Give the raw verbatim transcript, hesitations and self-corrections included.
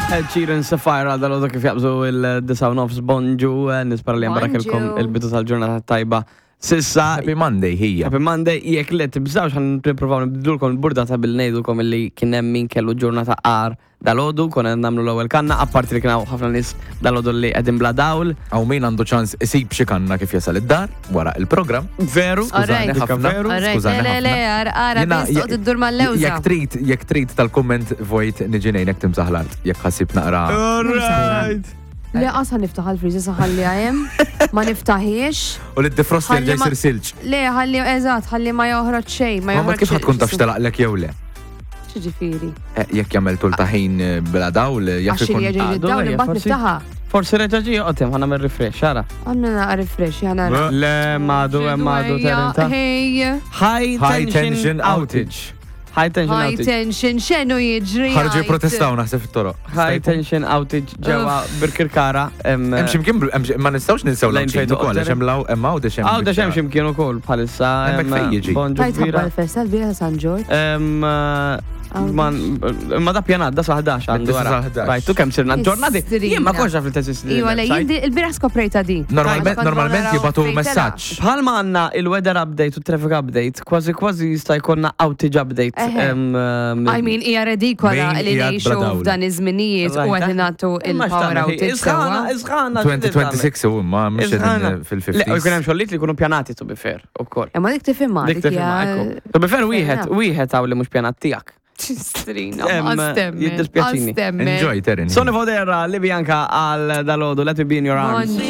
Ed Sheeran, Sapphire, għal dal kif jaqbżu il-disa u nofs. Bonġu, eh, nispera li jambarakilkom Bonġu. il-bidu tal-ġurnata tajba. Sissa, Happy Monday, hija. Happy Monday, jekk le tibżawx, ħan nippruvaw nibdulkom il-burdata bil ngħidulkom illi kien hemm min kellu ġurnata għar dal-għodu, konna nagħmlu l-ewwel kanna, apparti li kien hawn ħafna nies dal-għodu li qegħdin bla dawl. Hawn min għandu ċans isib xi kanna kif jasal id-dar wara il-programm. Veru, Skużani Alright. ħafna. Veru. Alright, Skużani le, le, le, ħafna. ara, ara, Jiena- biss toqgħod iddur mal-lewża. Jekk trid, jekk trid tal-komment vojt niġi ngħinek timsaħ l-art, jekk ħassib naqra. Alright. Le, qas niftaħ il-freezer sa ħalli għajem, ma niftaħiex. U li d-defrost Ħalli jerġa' ma- jsir silġ. Le, ħalli, eżatt, ħalli ma joħroġ xejn, ma Ma ma joħroġ. kif ħa tkun taf x'telaqlek jew le? Xiġifieri? Eh, jekk jagħmel tul ta' ħin eh, bla dawl, jaf Għax ikun. li jerġa' Għadu, dawn ejja, imbagħad forsi. niftaħha. Forsi reġa' ġie joqgħod ħa nagħmel refresh, ara. Għandna naqra refresh, jana. Le, madu, hemm madu Terenta. Hey, High High tension tension outage. outage. High tension high outage. tension, x'inhu jiġri? Ħarġu għajt? jipprotestaw naħseb fit-toroq. High tension outage ġewwa Birkirkara. Hemm x'imkien hemm xi- ma nistgħux ninsew Lejn l-Għawdxin fejn ukoll għax hemm law hemm Għawdex hemm. Għawdex hemm x'imkien ukoll bħalissa. Hemmhekk hemm fejn jiġi? Bonġu Tajt ħabba kbira. l-festa l-bira ta' San Ġorġ. Em, Għawdex. Man, ma da pjanat, da sa ħdax għandu Mid-disa għara. sa ħdax. Rajtu kemm sirna ġurnati. Istrina. Jien ma konx naf li teżisti. Iwa, le, il-website. jien il-bira skoprejta di. Normalment Kont normalment naraw jibatu fejn tela. messaġġ. Bħalma għandna il-weather update u traffic update, kważi kważi jista' jkollna outage update. Eħe. em, em, I mean, hija redikola Min li qiegħed ngħixu bla dawl. f'dan iż-żminijiet u qed nagħtu Imma il-power x'tagħmel? outage Isħana, sewwa. isħana. elfejn u tmienja u għoxrin u ma mhux Isħana. qegħdin Le, u jkun fil-ħamsinijiet. hemm xogħlijiet li jkunu pjanati, to be fair, ukoll. Imma dik tifhimha. Dik tifhimha, ekku. To be fair, wieħed, wieħed hawn li mhux pjanat tiegħek. Ċistrina, Em, għastemmen. jiddispjaċini. Enjoy, Terin. Sonny Fodera, li Bianca għal dal-għodu, "Let Me Be in Your Arms". Bonġu.